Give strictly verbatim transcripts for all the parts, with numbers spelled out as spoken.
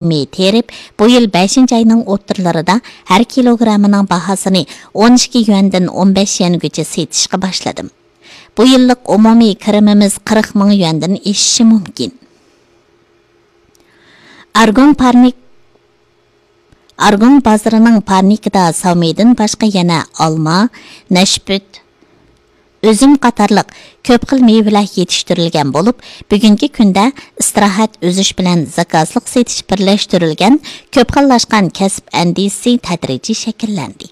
مېيى تېرىپ، بۇ يىل بەشىنچى ئاينىڭ ئوتتۇرىلىرىدا ھەر كىلوگراممىنىڭ باھاسىنى ئون ئىككى يۈەندىن ئون بەش يۈەنگىچە سېتىشقا باشلىدىم. بۇ يىللىق ئومۇمىي كىرىمىمىز قىرىق مىڭ يۈەندىن ئېشىشى مۇمكىن. ئارگوڭ پارنىك، ئارگوڭ بازىرىنىڭ پارنىكىدا ساۋمىدىن باشقا يەنە ئالما، نەشپۈت، ئۈزۈم قاتارلىق كۆپ خىل مېۋىلەر يېتىشتۈرۈلگەن بولۇپ، بۈگۈنكى كۈندە ئىستىراھەت ئۈزۈش بىلەن زاكازلىق سېتىش بىرلەشتۈرۈلگەن كۆپ خىللاشقان كەسىپ ئەندىزىسى تەدرىجىي شەكىللەندى.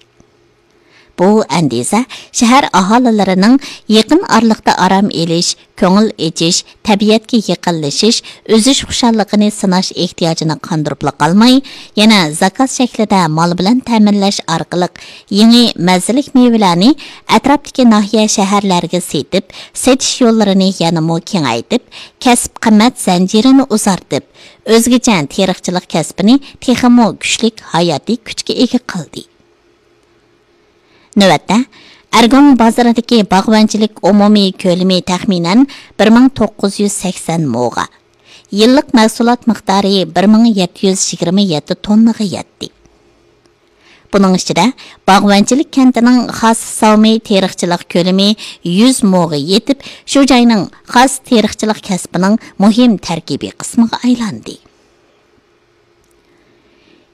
بۇ ئەندىزە شەھەر ئاھالىلىرىنىڭ يېقىن ئارىلىقتا ئارام ئېلىش، كۆڭۈل ئېچىش، تەبىئەتكە يېقىنلىشىش، ئۈزۈش خۇشاللىقىنى سىناش ئېھتىياجىنى قاندۇرۇپلا قالماي، يەنە زاكاز شەكلىدە مال بىلەن تەمىنلەش ئارقىلىق يېڭى مەززىلىك مېۋىلەرنى ئەتراپتىكى ناھىيە، شەھەرلەرگە سېتىپ، سېتىش يوللىرىنى يەنىمۇ كېڭەيتىپ، كەسىپ قىممەت زەنجىرىنى ئۇزارتىپ، ئۆزگىچە تېرىقچىلىق كەسپىنى تېخىمۇ كۈچلۈك ھاياتىي كۈچكە ئىگە قىلدى. نۆۋەتتە، ئەرگوڭ بازىرىدىكى باغۋەنچىلىك ئومۇمىي كۆلىمى تەخمىنەن بىر مىڭ توققۇز يۈز سەكسەن موغا، يىللىق مەھسۇلات مىقدارى بىر مىڭ يەتتە يۈز يىگىرمە يەتتە توننىغا يەتتى. بۇنىڭ ئىچىدە، باغۋەنچىلىك كەنتىنىڭ خاس ساۋمى تېرىقچىلىق كۆلىمى يۈز موغا يېتىپ، شۇ جاينىڭ خاس تېرىقچىلىق كەسپىنىڭ مۇھىم تەركىبىي قىسمىغا ئايلاندى.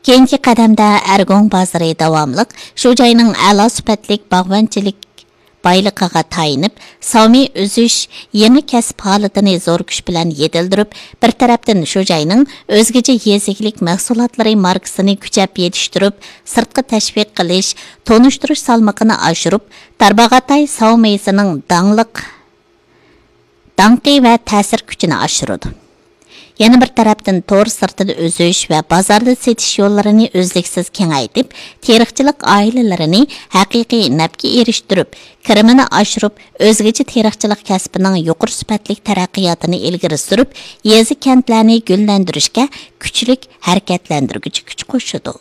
كېيىنكى قەدەمدە ئەرگوڭ بازىرى داۋاملىق شۇ جاينىڭ ئەلا سۈپەتلىك باغۋەنچىلىك بايلىقىغا تايىنىپ، ساۋمى ئۈزۈش، يېڭى كەسىپ ھالىتىنى زور كۈچ بىلەن يېتىلدۈرۈپ، بىر تەرەپتىن شۇ جاينىڭ ئۆزگىچە يېزا ئىگىلىك مەھسۇلاتلىرى ماركىسىنى كۈچەپ يېتىشتۈرۈپ، سىرتقا تەشۋىق قىلىش، تونۇشتۇرۇش سالمىقىنى ئاشۇرۇپ، تارباغاتاي ساۋمىسىنىڭ داڭلىق داڭقى ۋە تەسىر كۈچىنى ئاشۇرىدۇ. يەنە بىر تەرەپتىن، تور سىرتىدا ئۈزۈش ۋە بازاردا سېتىش يوللىرىنى ئۈزلۈكسىز كېڭەيتىپ، تېرىقچىلىق ئائىلىلىرىنى ھەقىقىي نەپكە ئېرىشتۈرۈپ، كىرىمىنى ئاشۇرۇپ، ئۆزگىچە تېرىقچىلىق كەسپىنىڭ يۇقىرى سۈپەتلىك تەرەققىياتىنى ئىلگىرى سۈرۈپ، يېزا، كەنتلەرنى گۈللەندۈرۈشكە كۈچلۈك ھەرىكەتلەندۈرگۈچى كۈچ قوشىدۇ.